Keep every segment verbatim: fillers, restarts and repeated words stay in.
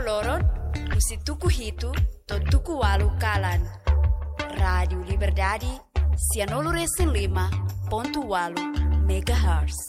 Loron, husi tuku hitu to'o tuku ualu kalan. Rádiu Liberdade, sianulu resin lima pontu ualu megahertz.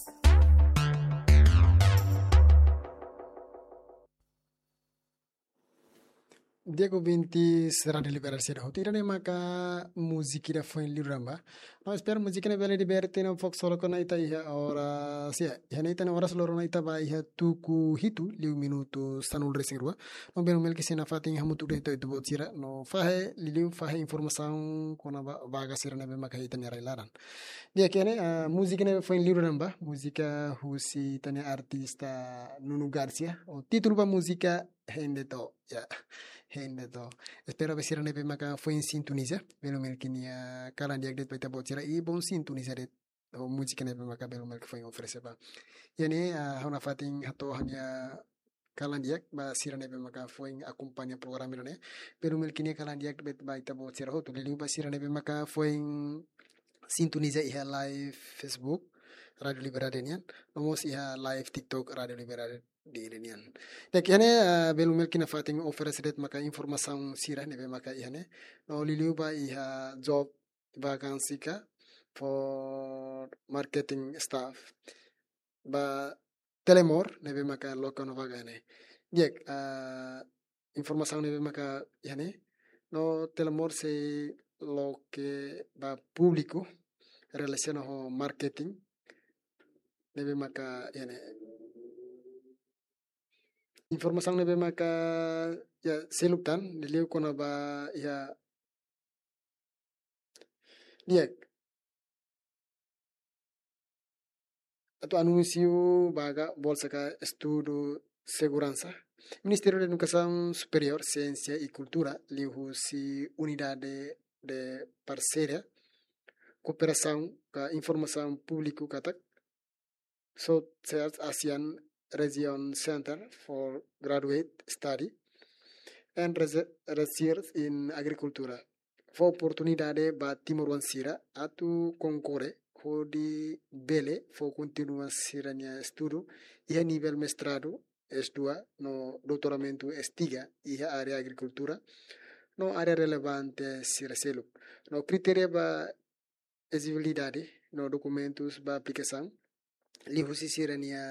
Di'ak, ouvinte Rádiu Liberdade sira hotu, ida-ne'e maka múzika ida foin liuliu ba. No espera múzika ne'e bele liberte no fok solo kona ita iha oras, ya, iha ne'e ita-nia oras loron ne'e ita ba iha tuku hitu liu minutu sanulu resin rua. No belu mel ke sina fatin hamutuk de'it ho ita-boot sira no fahe liuliu fahe informasaun kona-ba vaga sira ne'ebé maka iha ita-nia rai laran. Di'ak, iha ne'e, ah, múzika ne'e foin liuliu ba, múzika husi ita-nia artista Nuno Garcia, ho títulu ba múzika Hende To, ya, Hende To. Espera ba sira ne'ebé maka foin sintoniza, belu mel ke nia kalan di'ak de'it ba ita-boot sira i bom sintoniza de'it ho múzika ne'ebé maka belu mel ke foin oferese ba. Iha ne'e, ah, ha'u nafatin hato'o ha'u-nia kalan di'ak ba sira ne'ebé maka foin akompaña programa ida-ne'e. Belu mel ke nia kalan di'ak de'it ba ita-boot sira hotu. Liuliu ba sira ne'ebé maka foin sintoniza iha live Facebook Rádiu Liberdade nian. No mós iha live TikTok Rádiu Liberdade Dili nian. Di'ak, iha ne'e, ah, belu mel ke nafatin oferese de'it maka informasaun sira ne'ebé maka iha ne'e. No liuliu ba iha job vakansi ka for marketing staff. Ba Telemor ne'ebé maka loke ona vaga ne'e. Di'ak, ah, informasaun ne'ebé maka iha ne'e. No Telemor sei loke ba públiku relasiona ho marketing ne'ebé maka iha ne'e. Informasaun ne'ebé maka, ya, seluk tan, liuliu kona-ba iha, di'ak, atu anúnsiu vaga bolsa ka estudu seguransa. Ministériu Edukasaun Superiór, Siénsia i Kultura, liuhusi Unidade de Parseria, Kooperasaun ka Informasaun Públiku katak South East Asian Region Center for Graduate Study and Rese-, Research in Agriculture fó oportunidade ba timoroan sira atu konkorre hodi bele fó kontinua sira-nia estudu iha nivel mestradu, S dua, no doutoramentu, S tiga, iha área agrikultura no área relevante sira seluk. No kritéria ba elejibilidade no dokumentus ba aplikasaun liuhusi sira-nia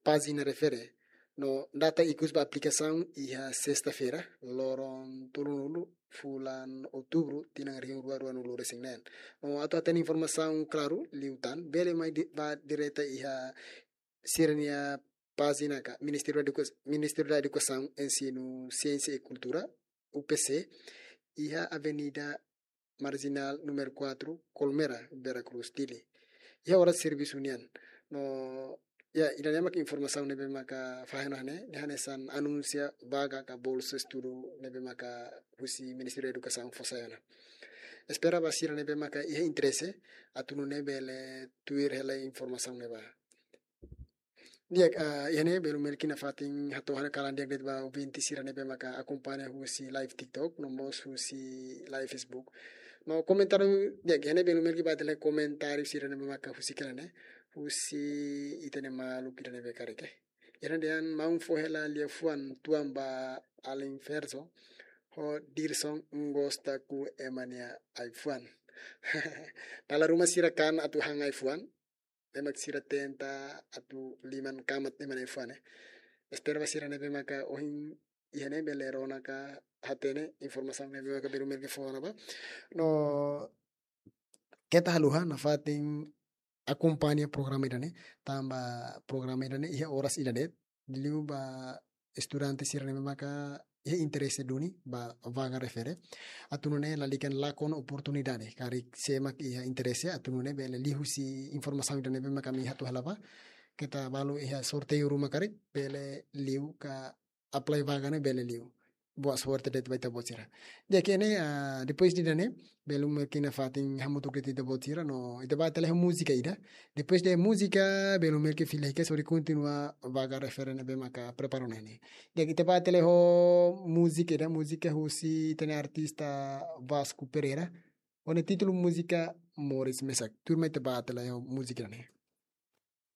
pájina refere. No data ikus ba aplikasaun iha sesta-feira, loron tolunulu, fulan Outubru, tinan rihun rua ruanulu resin neen. No atu hatene informasaun klaru liután, bele mai di-, ba direta iha sira-nia pájina ka Ministériu Eduka-, Ministériu da Edukasaun, Ensinu, Siénsia i Kultura, U P C, iha Avenida Marjinál númeru quatro, Colmera, Vera Cruz, Dili. Iha oras servisu nian. No, ya, ida-ne'e maka informasaun ne'ebé maka fahe ona ne'e, dehan hanesan anúnsia vaga ka bolsa estudu ne'ebé maka husi Ministériu Edukasaun fó sai ona. Espera ba sira ne'ebé maka iha interese, atu nune'e bele tuir hela informasaun ne'ebá. Di'ak, ah, iha ne'e belu mel ke nafatin hato'o ha'u-nia kalan di'ak de'it ba ouvinte sira ne'ebé maka akompaña husi live TikTok, no mós husi live Facebook. No komentáriu, di'ak, iha ne'e belu mel ke bá hatene komentáriu sira ne'ebé maka husik hela ne'e, husi ita-nia maluk ida ne'ebé karik. Iha ne'e dehan maun fó hela liafuan tuan ba alin Ferzo, ho Dirson gosta ku ema nia ai-fuan. Dala ruma sira kan atu han ai-fuan, ema sira tenta atu liman kamat ema nia ai-fuan, eh. Espera ba sira ne'ebé maka ohin iha ne'e bele rona ka hatene informasaun ne'ebé maka belu mel ke fó ona ba. No keta haluha nafatin akompaña programa ida-ne'e, tanba programa ida-ne'e iha oras ida de'it, liuliu ba estudante sira ne'ebé maka iha interese duni ba vaga refere. Atu nune'e lalika lakon oportunidade. Karik sé mak iha interese, atu nune'e bele liuhusi informasaun ida ne'ebé maka ami hato'o hela ba. Keta balu iha sorteiu ruma karik, bele liu ka apply vaga ne'e bele liu. Boa sorte de'it ba ita-boot sira. Di'ak, iha ne'e, ah, depois de ida-ne'e, belu mel ke nafatin hamutuk de'it ita-boot sira, no ita bá tele ho múzika ida. Depois de múzika, belu mel ke fila hikas hodi kontinua vaga refere ne'ebé maka prepara ona ne'e. Di'ak, ita bá tele ho múzika ida, múzika husi ita-nia artista Vasco Pereira. Ho nia títulu múzika Moris Mesak. Tuirmai ita bá tele ho múzika ne'e.